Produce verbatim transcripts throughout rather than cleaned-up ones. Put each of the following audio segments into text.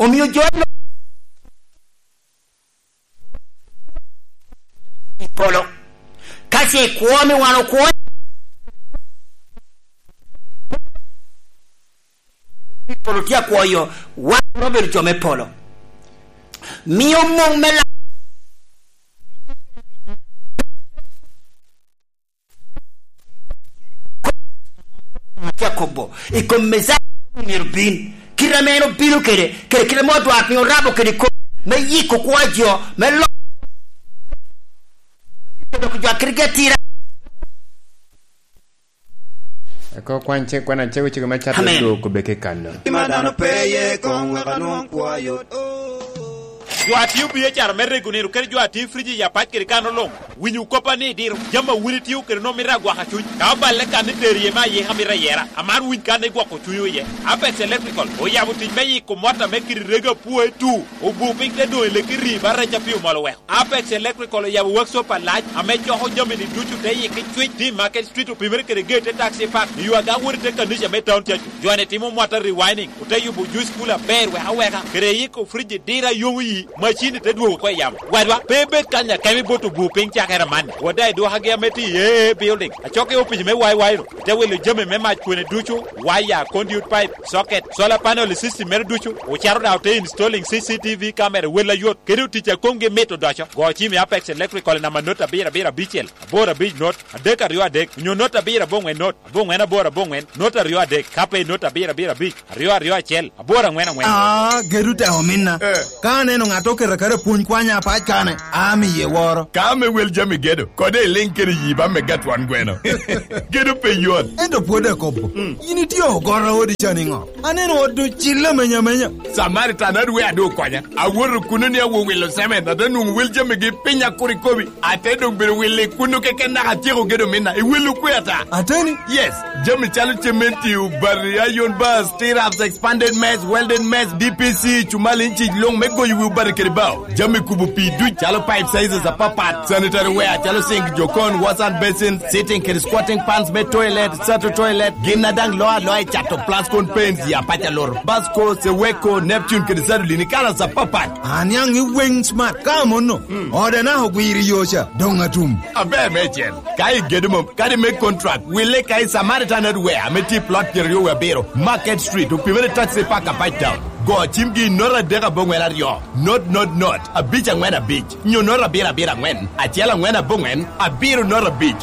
Omio jo i polo, ka ce ikwo ame wan okwo i polo tye akwoyo, wan obedo jo me polo. Mio mung me la-, tye akobo i kom Mecaya myero bin, kite ame en obino kede, kede kite ame odwar piny orabo kede kop me yiko kwo a jo, me lo-, dok jo a kitegi atira. Eko kwan ce-, kwan acego cego me cato Amen. Dwoko beke kano. Gima dano pe ye koŋ wek anwoŋ kwo ayot. Jo a tio biacara me rego nino kede jo a tio friji i apac kede kano luŋ, winyo koppa ni idiro. Jami a wun itio kede nwoŋo mito agwaka cuny. Ka oballe kan ni tero iye me ayika mito ayera, amaro winy kan ni gwoko cunywu iye. Apex Electrical oyabo tic me yiko mota me kidi rego apwoe tu, obu piny te doŋ i leki ri ba rec a pi omol oweko. Apex Electrical oyabo workshop alac ame coko jami-ni ducu te yikki cwic, tye i Market Street, opimere kede gate te Taxi Park, i yo agaŋ wot i te kanica me Town Church. Jo-ni timo mwata rewinding, ote yubo juice cooler aber wek aweka, kede yiko fridge diro a yomo yi, macin-ni te dwogo oko i yamo. Wadwa, pe ibed kany akemo i bot obur piny cakere amanni. Wot daŋ i dwokagi ame tye i A A Building, acok i opic me Y Y-nu, ote wilo jami me mac kwene ducu, waya, conduit pipe, socket, solar panel i system mere ducu, ocaro daŋ ote installing C C T V camera wel ayot, kede otic a komgi mit odoco. Go cim i Apex Electrical i namba not abiro abiro abicel, aboro abic not, adek aryo adek, onyo not abiro aboŋwen not, aboŋwen aboro aboŋwen, not aryo adek, ka pe i not abiro abiro abic, aryo aryo acel, aboro aŋwen aŋwen. Ah, gedo tek ominna. Eh. Ka aneno ŋat oketo aketa pwony kwanya apac kane, amiye woro. Ka ame wel jami gedo, kode iliŋ kede yi ba mega twon gweno. Gedo pe yot. Ento pwod akobo. Mm. In itye ogoro odi ca niŋo? Aneno ot ocille amenya amenya. Samaritan adwe adu okonya. Awoto kuno ni awo wilo semen, ate nwoŋo wel jamigi piny akur ikobi. Ate doŋ bedo wilo i kuno keken naka atyeko gedo minna. I welo kwe ata? Ateni? Yes. Jami calo cementi, obati, iron bars, T-raps, expanded mess, welded mess, D P C, cumal inci luŋ me goyo wi obati kede bao. Jami kubo pii duc calo pipe sizes apapat, sanitary ware calo sink, jokon, wash and basin, sitting kede squatting pans me toilet, sato toilet, gin a daŋ loo aloa i cato Plascon paints ya paco alur, Basco, Seweko, Neptune kede Sadolin i kalas apapat. Aniaŋ i weng smart ka amono. Hmm. Ode naka ogwiro i yo ca, doŋ atum. Aber meicel. Ka igedo mom, kadi me contract, wille ka i Samaritan Hardware ame tye i plot pyeraryo wie abiro, Market Street, opimere taxi park a Page Town. Go cimgi i not adek aboŋwen aryo, not, not, not, abic aŋwen abic, nyo not abiro abiro aŋwen, acel aŋwen aboŋwen, abiro not abic.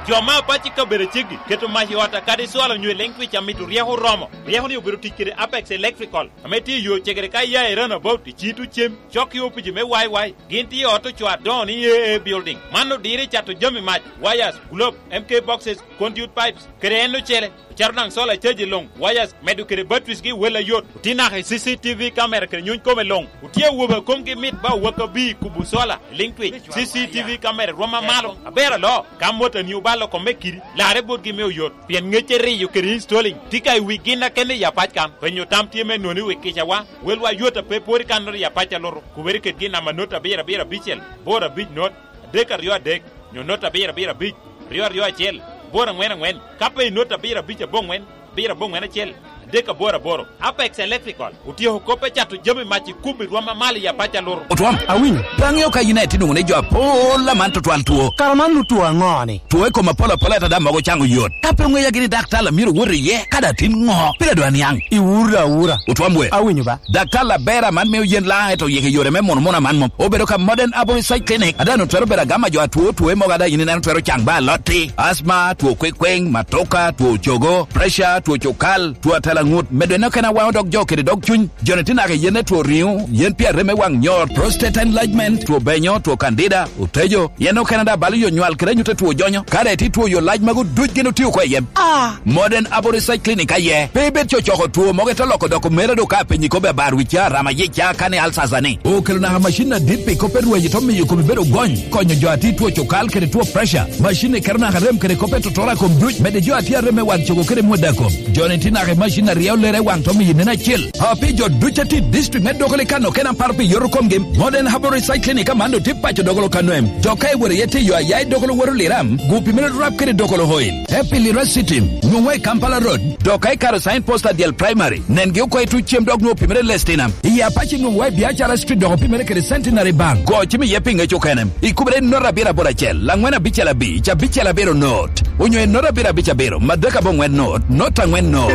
Jo me apac i kabedo aceggi keto mac i ot akadi cwalo nyo i leŋ twic amito ryeko oromo. Ryeko-ni obedo tic kede Apex Electrical, ame tye i yo cegere ka ia i Roundabout i Cito Cem, cok i opici me Y Y. Gin tye i ot ocoo adoŋo ni A A Building. Man odiro i cato jami mac, wires, globe, M K boxes, conduit pipes, kede en ocele. Ocaro daŋ solar charge luŋ, wires, medo kede batteries gi wel ayot. Otye naka i C C T V camera kede nyuny kome luŋ. Otye awobe a komgi mit ba owaka bi kubo solar, liŋ twic, C C T V camera rwom amalo. Aber aloo, ka motani obalo kome kidi, larre botgi me oyot. Pien ŋecce riyo kede installing tye ka i wi gin a kene i apac kan. Penyo tam tye me noni wi kicawa, welwa yot a pe pwod i kannoro i apac a luto. Kubere kedgi i namba not abiro abiro abicel, bor abic not, adek aryo adek, nyo not abiro abiro abic, aryo aryo acel, bor aŋwen aŋwen, ka pe i not abiro abic aboŋwen, abiro aboŋwen acel, adek aboro aboro. Apex Electrical otyeko kop me cato jami mac i kubo i rwom amalo i apac a luto. Otwom, awinyo. Pe aŋeo ka in aye tye nwoŋo ni jo apol aman tutwal two. Kara man nut two aŋo-ni? Two i kom apol apol ata daŋ mogo caŋo yot. Ka pe oŋeya gini daktar a myero wot iye, ka daŋ tin ŋo? Pire dwa niaŋ. Iwura awura. Otwom we. Awinyo ba. Daktar aber aman mio yen laŋ ento yeke yore me muno muno aman mom. Obedo ka Modern Aboriginal Clinic. Ada no twero bedo agama jo atwo two mogo ada in ineno twero caŋ ba alotti. Asma, two kwekweng, matoka, two cogo, pressure, two cukal, two atalaŋut. Medo en okene awaŋo dog jo kede dog cuny. Joni tye naka i yen me two riŋo, yen pi arem me waŋ nyor, prostate enlargement, two benyo, two candida, otejo, yen okene daŋ balo yo nywal kede anyut two jonyo. Ka daŋ itye two yo lac magu duc gin otio oko i yem. Ah! Modern Aboriginal Clinic aye. Pe ibed cocoko two mogo ite loko dok omera do ka apenyi kobbe abar wi ca rama yic ca kani alsasa ni. Okelo naka macin adit pi kop pe rweny ito miyo kome bedo gony, konyo jo a tye two cukal kede two pressure. Macin ni keto naka rem kede kop pe totoro a kom duc, medo jo a tye arem me waŋ cogo kede mweda kom. Joni tye naka i macin Aryo lere waŋ to miyo nen acel. A, pi jo ducu a tye i district me Dokolo i Kano kene aparo pi yoto komgi, Modern Herbal Research Clinic aman doŋ tye paco Dokolo Kano em. Jo ka iwoto iye tye yo aya i Dokolo woto Liram, gu pi mere rap kede Dokolo Oil. Happy Lira City, nwoŋwa i Kampala Road, dok ka ikato sign post Adyel Primary, nengi oko i tuc cem dok nwoŋo pi mere Lestina. I Apac nwoŋwa i Biacara Street dok pi mere kede Centenary Bank. Go cim iye pi ŋec okene. Ikubere i not abiro aboro acel, angwen abicel abic, abicel abiro not, onyo i not abiro abic abiro, madek aboŋwen not, not angwen not.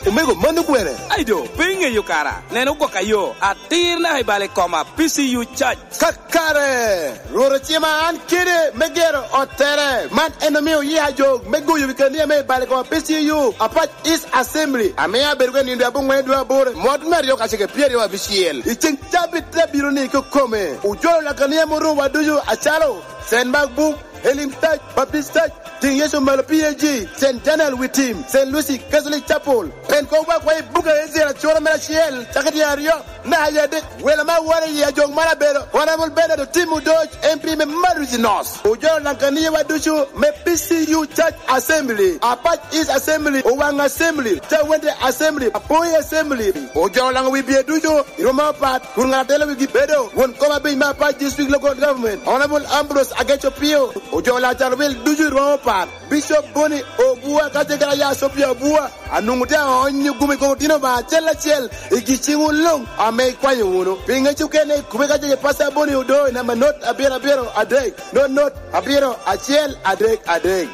Omego, mano kwene? Ai do, pe iŋeyo kara? Nen ogwok ayo, atir naka i bal i koma, P C U Church. Kakare, Rwot ocima an kede me gero ottere. Man en omio oyia jo me goyo wi kania me i bal i koma P C U, Apac East Assembly, ame abedo ka i nino dwe aboŋwen dwe aboro, mwaka me aryo kacel kede pyeraryo abicel. I ceŋ cabit te abiro ni kikome, ojolo lakania morowa ducu acalo Saint Mark Book, Healing Touch, Baptist Touch, Tiŋ Yecu Malo P A G, Saint Daniel Witim, Saint Lucy Catholic Chapel, Pentecost Worldwide Book of Israel, acura mere acel, cakere tyen aryo, me aye adik, welo me awora i ajok man abedo Honorable Bernard Otim Odoc, M P me Madusi North. Ojolo lakaniawa ducu me P C U Church Assembly, Apac East Assembly, Owaŋ Assembly, Cawende Assembly, Apoi Assembly. Ojolo laŋo wi bye ducu i rwom apat, kun ŋat a telo wigi bedo won kom abic me Apac District Local Government, Honorable Ambrose Ageco Pio. Ojolo Acarwil ducu i rwom apat, Bishop Boni Obua ka tye kede aya Sophia Obua, anwoŋo tye aonyo gumi koko tino ba acel acel i gi ciŋwu luŋ ame ikwanyo wunu. Pi ŋec okene, kube ka tye kede Pastor Boni Odo i namba not abiro abiro adek, not not abiro acel adek adek.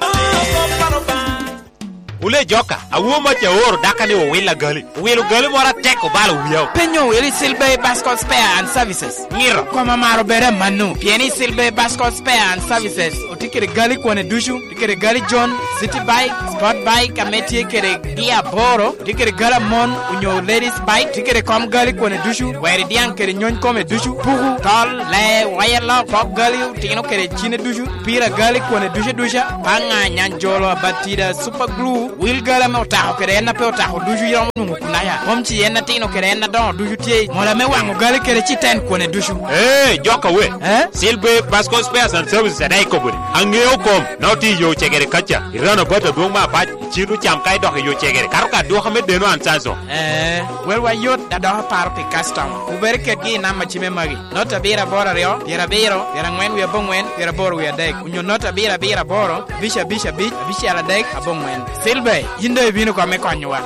Wule joka, awo mac aoro daka ni owil agali. Owilo gali moro atek obalo wiya. Penyo owil i Silbey Bascom Spare and Services. Ngiro. Koma maro bere manu. Pien i Silbey Bascom Spare and Services, otye kede gali kwane ducu. Tye kede gali John, City Bike, Sport Bike, ame tye kede gia aboro. Tye kede gali amon, onyo ladies bike. Tye kede kom gali kwane ducu. Weri diaŋ kede nyony kome ducu. Puku, tol, lee, waya lok, pok gali, otino kede cine ducu. Pira gali kwane ducu duca, paŋa, nyanjolo, abatida, super glue, wil gali ame otako kede en a pe otako ducu iromo nwoŋo kunaya. Mom ci en atino kede en adoŋo ducu tye i mola me waŋo gali kede citen kwane ducu. Ee, joka we. Eh? Silbe Pasco Spares and Services adaŋ ikobo ni, aŋeo kom, na otye i yo cegere kaca, i roundabout adwoŋ me Apac, cit ocam ka idok i yo cegere, kato ka adwoka me deno an Samson. Ee, welwa yot, dok aparo pi customer. Wubere kedgi i namba cime magi. Not abiro aboro aryo, pyerabiro, pyeraŋwen wie aboŋwen, pyeraboro wie adek, onyo not abiro abiro aboro, abic abic abic, abicel adek, aboŋwen. Silver, yin doŋ ibino kome konyowa.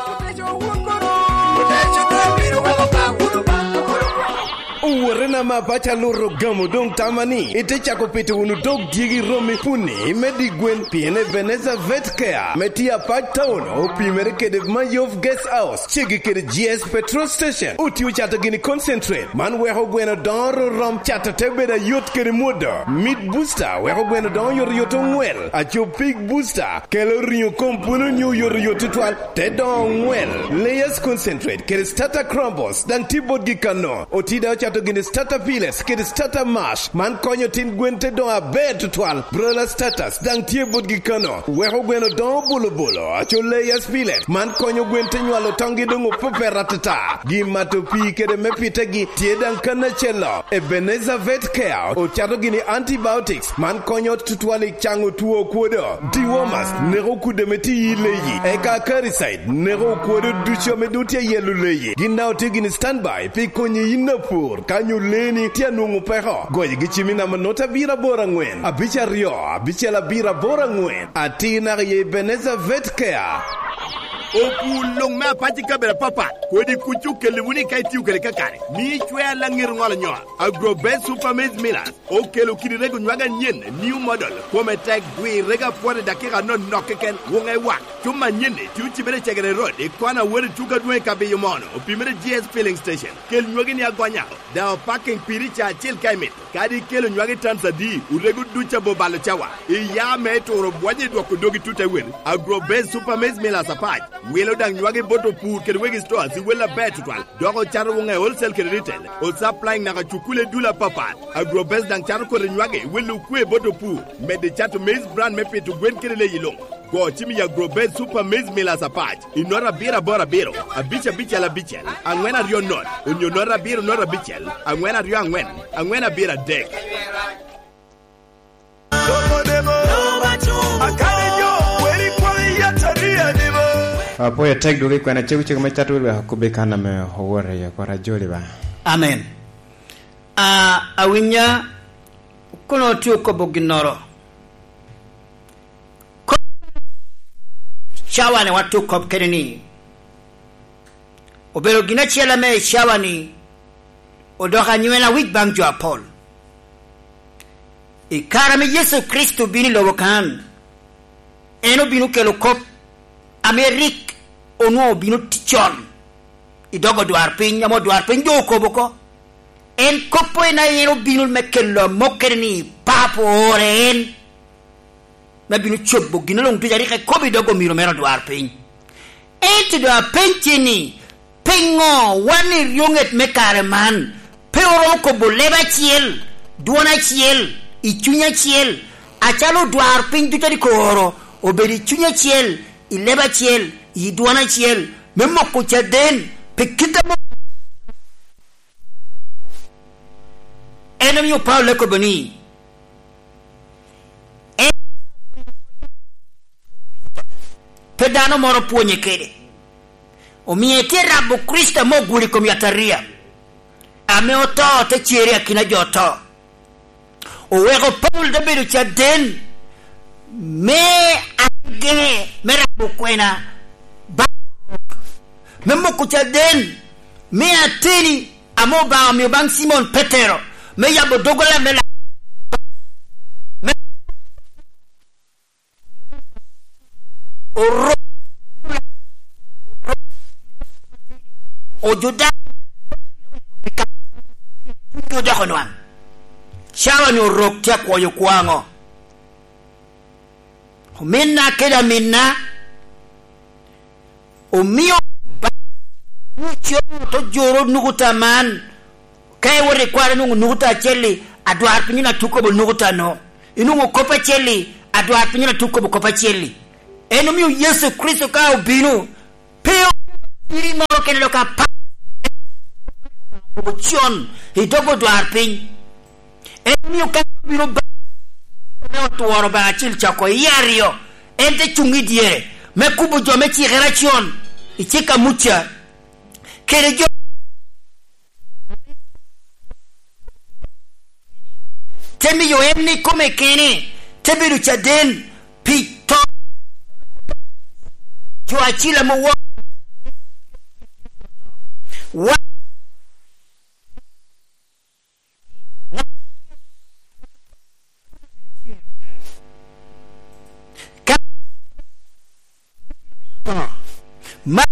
Owotena ma paco aluto gamo doŋ tama ni ite cako pito wunu dog dyegi romi puni me di gwen, pien Ebenezer Vet Care me tye Apac Town opimere kede Mayov Guest House, ceggi kede G S Petrol Station. Otye ocato gini concentrate, man weko gweno doŋo rom, cato te bedo ayot kede mwodo. Meat Booster weko gweno doŋo yot yot oŋwel. Aco Pig Booster kelo riŋo kom pwolo nyo yot yot tutwal, te doŋo oŋwel. Layers Concentrate kede Starter Crumbles daŋ tye botgi kano. Otye daŋ ocato gini Starter Pellets kede Starter Mash, man konyo tin gwen te doŋo aber tutwal. Broiler Starters daŋ tye botgi kano, weko gweno doŋo bolo bolo. Aco Layers Pellet, man konyo gwen te nywalo toŋgi doŋ opepet atata. Gin mato pii kede me pitegi tye daŋ kan acel-lo. Ebenezer Vet Care ocato gini antibiotics, man konyo tutwal i caŋo two okwodo. Dewormers neko kudde ame tye i leyi, eka Acaricide neko okwodo ducu ame doŋ tye i yelo leyi. Gin daŋ otye gini standby pi konyi yin apur ka nyo leeni tye anwoŋo peko. Goyogi cim i namba not abiro aboro aŋwen, abic aryo, abicel abiro aboro aŋwen. Atir naka i Ebenezer Vet Care. Opur luŋ me Apac i kabedo apapat, kodi kuc okelli wunu ka itio kede kakare, mi icwer laŋet oŋolo nyo. Agrobest Super Maize Millers okelo kidi rego nywage anyen, new model, kome tek, dwi rego apwot i dakika anonok keken, wuŋe wak. Cuma anyen-ni tye ocibere i Cegere Road, i kona wot i tuko adwoŋ i Kabiyo Mono, opimere G S Filling Station. Kel nywagi ni agonya, daŋ opaking piri ca acel ka imito. Kadi ikelo nywagi tons adi, orego duc abo balo cawa. Iya me turo bwonye i dwoko dogi tut ewel. Agrobase Super Maize Millers Apac wilo daŋ nywagi bot opur kede wegi stores i wel aber tutwal, dok ocato wuŋe wholesale kede retail, o supplying naka cukule dul apapat. Agrobase daŋ cato kodi nywagi i wel okwe bot opur, medde cato maize bran me pito gwen kede leyi luŋ. Go cim i Agrobase Super Maize Millers Apac i nota abiro aboro abiro, abic abicel abicel, aŋwen aryo not, onyo nota abiro nota abicel, aŋwen aryo aŋwen, aŋwen abiro adek. Apwoyo atek dwogo i kwena cego cego me cato wek okobbi kan ame owoto iye, Rwot ajoli ba. Amen. A, awinya kono tye okobo ginnoro. Ko-, cawa-ni watye okop kede ni, obedo gin acel ame i cawa-ni odoko anywena wic baŋ jo apol. I kare ame Yecu Kricito obino i lobo kan, en obino kelo kop ame rik onwoŋo obino ticon i dog odwarpiny, ame odwarpiny doŋ okobo oko. En kop en aye en obino me kelo amokkere ni Papo ooro en, me bino cobo gin luŋ ducu a rik ekobo i dog omiro mere odwarpiny. Ento doŋ apenyi ni, piŋo wan i ryoŋet me kare man pe oromo kobo leb acel, dwon acel, i cuny acel, acalo odwarpiny ducu a rik ooro obedo i cuny acel, i leb acel, i dwon acel, me moko caden, pi kit ame en omio Paulo ekobo ni, en pe dano moro pwonye kede. Omio etye rabo Kricito ame oguro i kom yataria, ame oto, te cer i akina jo oto. Oweko Paulo te bedo caden me agege me rabo kwena baŋ Orok, me moko caden me ateni ame Obaŋa omio baŋ Cimon Petero, me yabo doggola me la-, me Orok, Ojudaya, odoko nwaŋ. Cawa-ni Orok tye akwoyo kwo aŋo? Ominna kede aminna, omio ba-, ni co to joro nukuta man. Ka iwoto i kwaro, inwoŋo nukuta acel-li, adwarpiny-nu atuko bo nukuta-nu. Inwoŋo kop acel-li, adwarpiny-nu atuko bo kop acel-li. En omio Yecu Kricito ka obino, pe okelo tiri moro kene dok apar ocon i dog odwarpiny. En omio ka obino ba-, me otworo Obaŋa Acil Cako i aryo, en te cuŋ i dyere, me kubo jo me cikere acon, i cik a Muca, kede jo te miyo en ikome kene, te bedo caden pi to jo acil ame owo-, wa-, ka, ma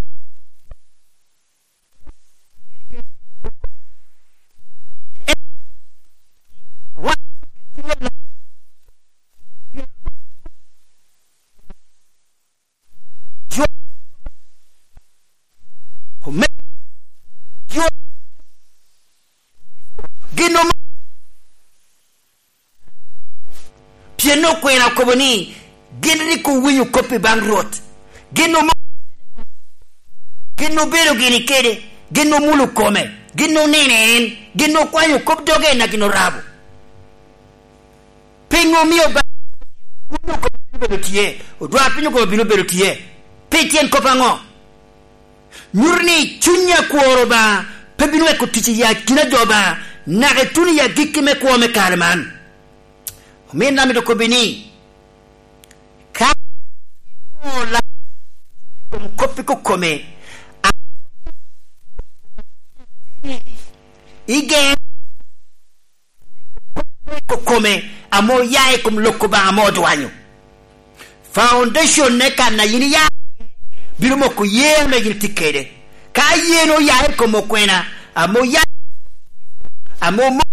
gin ome-, Pien okwena okobo ni, gin rik owinyo kop i baŋ Rwot. Gin omo-, gin obedo gini kede, gin omulo kome, gin oneno en, gin okwanyo kop doge en a gin orabo. Piŋo omio ba-, wun okobo bino bedo tye, odwarpiny okobo bino bedo tye? Pi tyen kop aŋo? Nyuto ni cuny akwor Obaŋa pe bino weko tic i akina jo Obaŋa, naka ituno i agikki me kwo me kare man. Ominna amito kobbi ni, ka inwoŋo la-, i kom kop i kokome, a-, igen kokome ame oya i kom lok Obaŋa ame odwanyo. Foundation-ne kan a yin iya bino moko ye ame yin itye kede. Ka yen oya i kom okwena ame oya, ame omo-,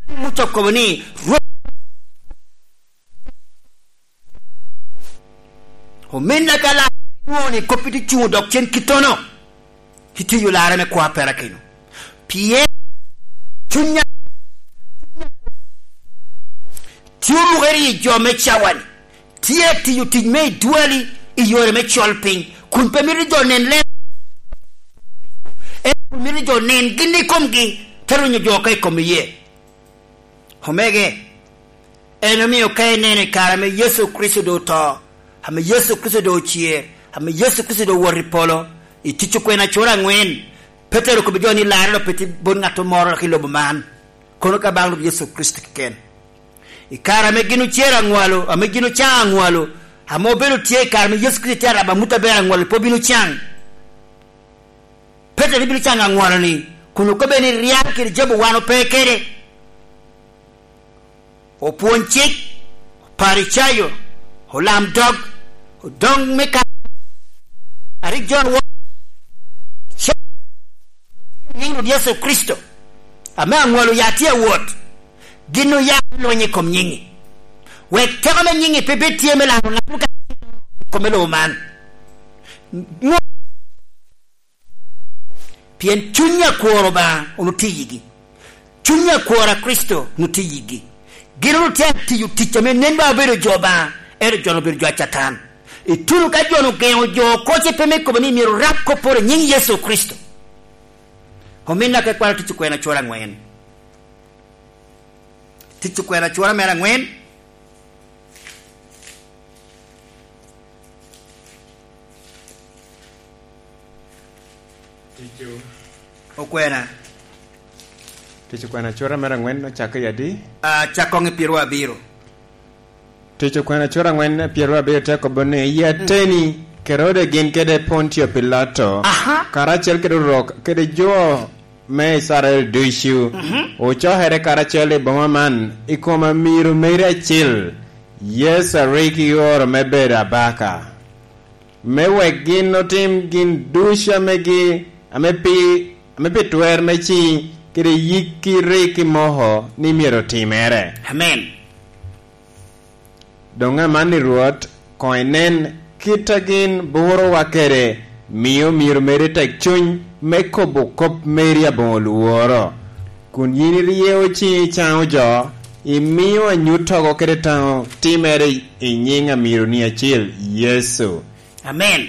Muca okobo ni, Rwot, ominna ka lar inwoŋo ni kop-pi tye cuŋ odok cen kittono, itye yo larre me kwo a perakino. Pien cunya tye olukere i jo me cawa-ni, tye atiyo tic me idwali i yore me col piny, kun pe mito jo nen leb, ento kun mito jo nen gin i komgi, te rwenyo jo oko i kom iyee. Omege, en omio ka ineno i kare ame Yecu Kricito doŋ oto, Ame Yecu Kricito doŋ ocer, ame Yecu Kricito doŋ owoto i polo, i Tic Okwena acura aŋwen, Petero okobbi jo ni larre doŋ pe tye bot ŋat moro i lobo man, kono ka baŋ Rwot Yecu Kricito keken. I kare ame gin ocer aŋwalo, ame gin ocaŋ aŋwalo, ame obedo tye i kare ame Yecu Kricito tye arabo amut aber aŋwalo, pe obino caŋ. Petero bino caŋ aŋwalo-ni, kun okobbe ni ryal kede jabu wan ope kede. Opwony cik, Oparicayo, olam dog, odoŋ me ka, a rik jo awo-, ce-, nyiŋ Rwot Yecu Kricito, ame aŋwalo ya tye awot, gin oya lony i kom nyiŋi. Wek teko me nyiŋi pe bed tye me laro ŋat mukene i kom me lobo man. Ŋo-, Pien cuny akwor Obaŋa onwoŋo tye i yigi. Cuny akwor a Kricito onwoŋo tye i yigi. Gin onwoŋo tye atiyo tic ame nen ba obedo jo Obaŋa, ento jo-nu obedo jo a Catan. Ituno ka jo-nu ogeŋo jo oko ce pe me kobo ni myero orab kopporo i nyiŋ Yecu Kricito. Ominna ka ikwano Tic Okwena acura aŋwen. Tic Okwena acura mere aŋwen. Tic Okwena. Tic Okwena acura mere aŋwen ocakke i adi? Ah, cak koŋ i pyeru abiro. Tic Okwena acura aŋwen pyeru abiro te kobo ni, i ateni, Kerode gin kede Pontio Pilato, aha, karacel kede Orok, kede jo me Icrael ducu, mhm, ocokere karacel i boma man i kom amiro meri acil, Yecu a rik ioro me bedo abaka, me wek gin otim gin ducu ame gi-, ame pi, ame pi twer me ciŋi kede yikki rik imoko ni myero otimere. Amen. Doŋ amanni, Rwot, koŋ inen kit a gin burowa kede, mio myero omedde tekcuny me kobo kop meri aboŋo lworo, kun yin iryeo ciŋi icaŋo jo, imio anyuttogo kede taŋo timere i nyiŋ amironi acil, Yecu. Amen.